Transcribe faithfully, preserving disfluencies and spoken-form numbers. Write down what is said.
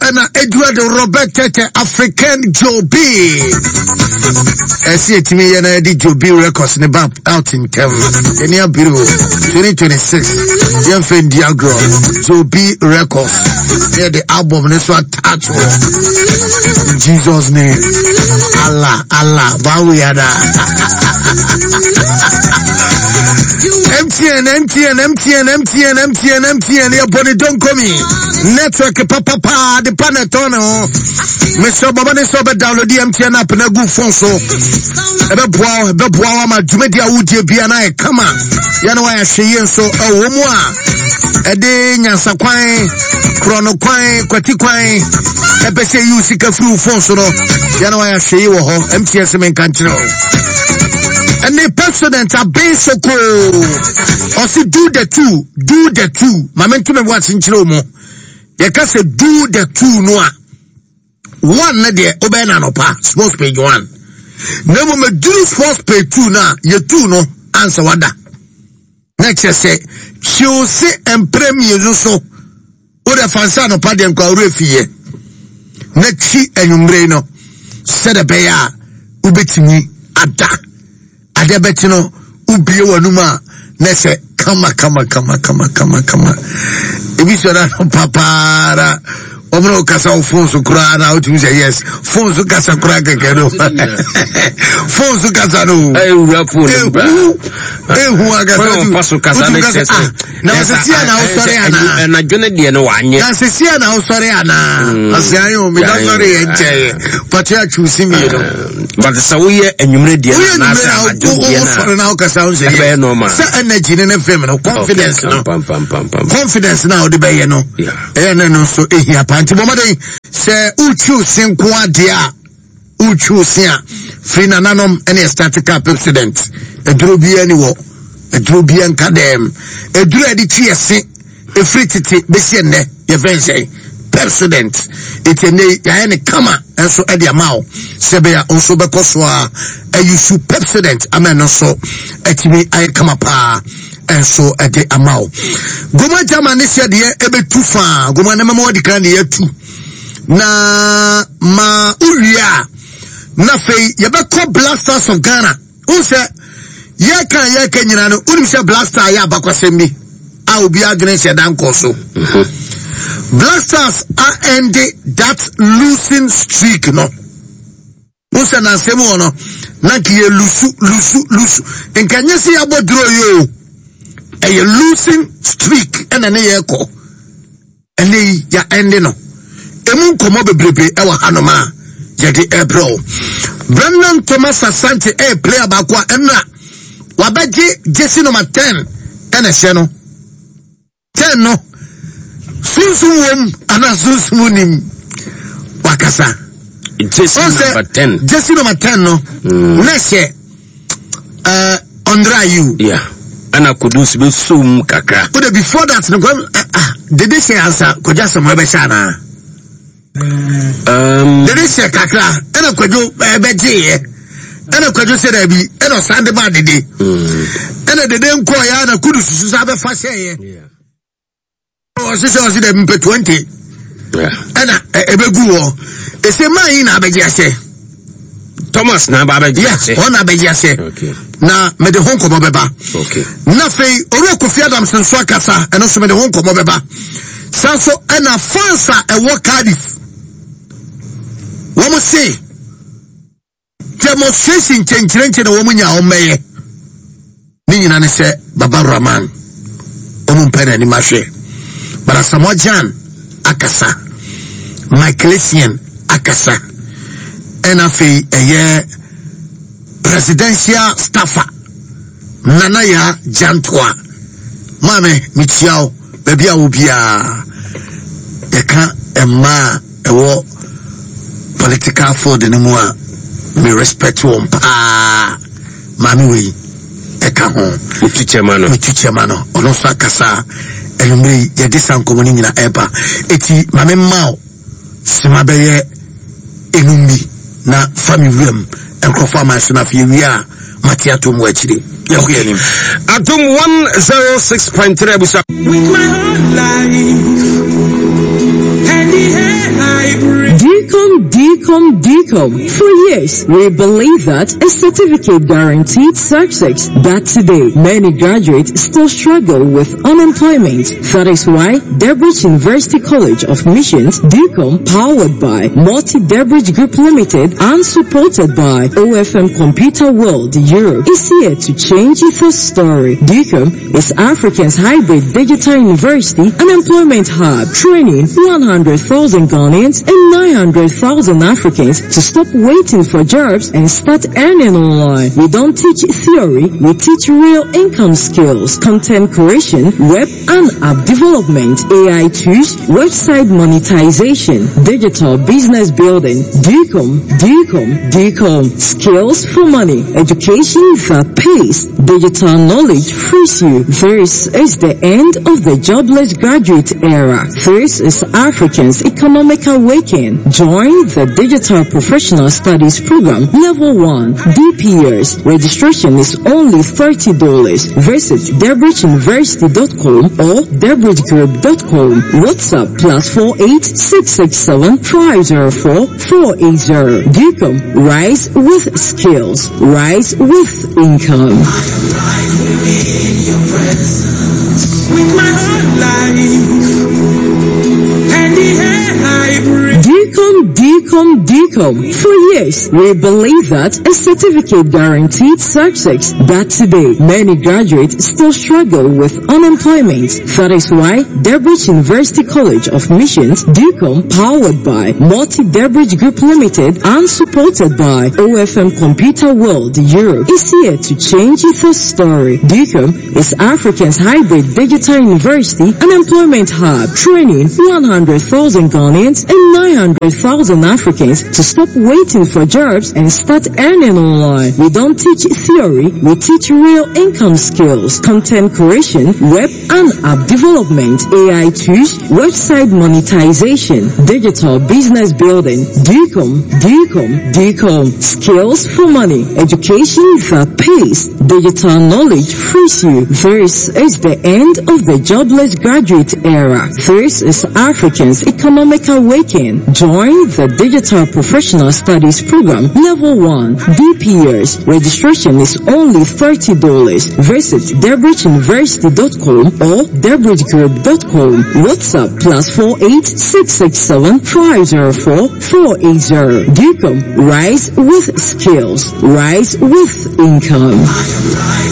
ɛna Edward Robert Tete African Jobi. Ɛsi etimi yɛ na yɛde Jobi Records ne ba out ntɛm. Ɛni abiri o, twenty twenty-six, yɛn fɛ ndi agorɔ. Jobi Records ne yɛde album ne so attach wɔ. In Jesus' name. Allah Allah bawo yada. M T N, M T N, M T N, M T N, M T N, M T N, yɛbɔ ne dɔnkɔmi network papapa de pa na ɛtɔn ne ho. Mesɛ bɔbɔ ne sɛ wobɛ download M T N app na agu phone so. Ɛbɛboa wo, ɛbɛboa wo ama dwumadi a wodie bia na ayɛ kama. Yɛne woayɛ hwɛ yie nso ɛwɔ mu a ɛde nyansakwan, korɔno kwan, kwati kwan ɛpɛ sɛ yi wo sika firi wo phone so no, yɛne woayɛ hwɛ yie wɔ hɔ. M T N sɛ menka nkyerɛ wo. Ɛne President Aben Soko ɔsi do the two, do the two. Maame ntoma bi wase nkyerɛ wo mu. Yɛka sɛ do the two no a, one ne deɛ wobɛyɛ no anɔpa, sports page one, na mmom aduru sports page two no a, yɛtu no ansa wada na kyerɛ sɛ kyiw se mprɛ mmienu so. Wode fa nsa anɔpa deɛ nkwa worɛ fiyɛ na twi anwummere no sɛdeɛ ɛbɛyɛ a wobɛtumi ada adeɛ bɛkye no, wobie w'anum a na sɛ kama kama kama kama kama kama. Ebi sɔ na no papaara wɔn na wɔkasa wo phone so koraa na wotumi sɛ yes, phone so kasa koraa kɛkɛ no, phone so kasa no. Ewura phone no bra. Ehu ehu akasa. Kwan ɔfa so kasa ne wotumi kyerɛ kasa, ah, na wɔsɛ si a na wosɔre anaa? Ɛnadwo ne deɛ no wanyɛ. Na sɛ si a na wosɔre anaa? Ɔsɛ ayi o, mi da sɔre yɛ nkyɛn pɔtɛ atwiw si mmienu. But sɛ woyɛ anwummerɛ deɛ woyɛ no anaasɛ nwumere na anadwo deɛ no wosɔre na wokasa wo sɛ ɛbɛyɛ normal. Sɛ energy ne ne fam no, confidence no, pam pam pam pam. Confidence na wode bɛyɛ no, Yeah. ɛyɛ ne no nso ɛhia paa. Nti bɔmmɔden sɛ wotwiw se nko adeɛ a wotwiw se a firi nananom ɛne ɛstart car Pepsodent. Aduro biara ni wɔ aduro biara nka dɛm aduro a yɛde twi ɛse ɛfiri tete bɛsi ɛnnɛ, yɛfɛn sɛ Pepsodent. Ɛti ɛnnɛ yi yɛayɛ ne kama nso ɛde ama wo sɛ bɛyɛ a nso bɛkɔ so a ɛyusu Pepsodent ama ɛno nso atumi ayɛ kama paa nso ɛde ama wo. Goma gyama ne sɛ deɛ ɛbɛtu faa goma ne mɛma wɔde kan deɛ atu na ma wowie a, na afei yɛbɛkɔ Black Stars of Ghana. Wohu sɛ yɛka yɛka nyinaa no, wonim sɛ Black Star yɛ abakwasɛm bi a obi adwene hyɛ da nkɔ so. Black Stars a end that losing streak no, wohu sɛ nansɛm wɔ no na nka yɛ lose lose lose, nka nyɛ sɛ yɛabɔ duro yi o, ɛyɛ losing streak ɛna ne yɛkɔ. Ɛnɛ yi yɛ ɛnde no emu nkɔmɔ bebrebe ɛwɔ hanom a yɛde ɛbrɛ o. Brendan Thomas Asante ɛyɛ player baako a ɛnna wabɛgye jersey number ten ɛna ɛhyɛ no. Ten no sunsun wɔm anaa sunsun nim wakasa. Jersey Ɔn number ten. Jersey number ten no na ɛhyɛ ɛɛ Andre Ayew. Yeah, ɛna Kudus bɛ som kakra. O de, before that no kwan ah, dede hyɛ ansa Kwadwo Asɛm ɛbɛhyɛ anaa? Um, dede hyɛ kakra ɛna Kwadwo ɛbɛgyeeɛ, ɛna Kwadwo sɛ daabi, ɛna ɔsan de maa dede, ɛna dede nkɔɔ yɛ na Kudus soso sa bɛfa hyɛeɛ. yeah. Ɔse sɛ ɔse daabi, mpɛ twenty. Yeah. Ɛna ɛ- ɛbɛgu hɔ ɛsɛ maa yi na abɛgye ahyɛ. Thomas na aba abɛgye yeah ase. Ɔna abɛgye ahyɛ. Okay. Na mede ho nkɔmmɔ bɛba. Okay. Na afei Owura Kofi Adams nso akasa, ɛno nso mede ho nkɔmmɔ bɛba. Saa nso ɛna fans a ɛwɔ Cardiff wɔn se demonstration nkyɛnkyerɛnkyɛn na wɔn nya wɔn mɛyɛ ne nyina ne sɛ Baba Rahman wɔn mpɛ n'anim ahwɛ. But Asamoah Gyan akasa, Michael Essien akasa, ɛna afei ɛyɛ presidential staffer Nana Yaa Gyantoa. Maame, mekyia wo baabi a wo biara. Yɛka mmaa a ɛwɔ political field no mu a, me respect wɔn paa. Maame wei ɛka ho. Wotu kyɛma no. Metu kyɛma no. Ɔno nso akasa a anwummerɛ yi yɛde sa nkɔmmɔ no nyina ɛba. Eti maame mma wo sima bɛyɛ enum bi na fa me wuram nkurɔfoɔ aman so, na afei ewie a mate ato mu akyire yɛkɔ yɛn anim. Adom one oh six point three abusa. With my whole life and the DCOM, DCOM, DCOM. For years, we believe that a certificate guaranteed success. But today, many graduates still struggle with unemployment. That is why Debridge University College of Missions, DCOM, powered by Multi Debridge Group Limited and supported by O F M Computer World Europe, is here to change the story. DCOM is Africa's hybrid digital university and employment hub, training one hundred thousand Ghanaians and nine hundred thousand Africans to stop waiting for jobs and start earning online. We don't teach theory, we teach real income skills, content creation, web and app development, A I tools, website monetization, digital business building. DCOM, DCOM, DCOM. Skills for money, education that pays, digital knowledge frees you. This is the end of the jobless graduate era. This is Africans' economic awakening. Join the Digital Professional Studies Program Level one, D P S. Registration is only thirty dollars. Visit debridgeuniversity dot com or debridgegroup dot com. WhatsApp plus four eight six six seven five zero four four eight zero. DCOM, rise with skills, rise with income. With my whole life and the air I breathe. DCOM, DCOM, DCOM. For years, we believe that a certificate guaranteed success. But today, many graduates still struggle with unemployment. That is why Debridge University College of Missions, DCOM, powered by Multi Debridge Group Limited and supported by O F M Computer World Europe, is here to change the story. DCOM is Africa's hybrid digital university and employment hub, training one hundred thousand Ghanaians and nine hundred thousand Africans to stop waiting for jobs and start earning online. We don't teach theory, we teach real income skills, content creation, web and app development, A I tools, website monetization, digital business building. DCOM, DCOM, DCOM. Skills for money, education that pays, digital knowledge frees you. This is the end of the jobless graduate era. This is Africans' economic awakening. Join the Digital Professional Studies Program Level one, D P S. Registration is only thirty dollars. Visit debridgeuniversity dot com or debridgegroup dot com. WhatsApp plus four eight six six seven five zero four four eight zero. DCOM, rise with skills, rise with income.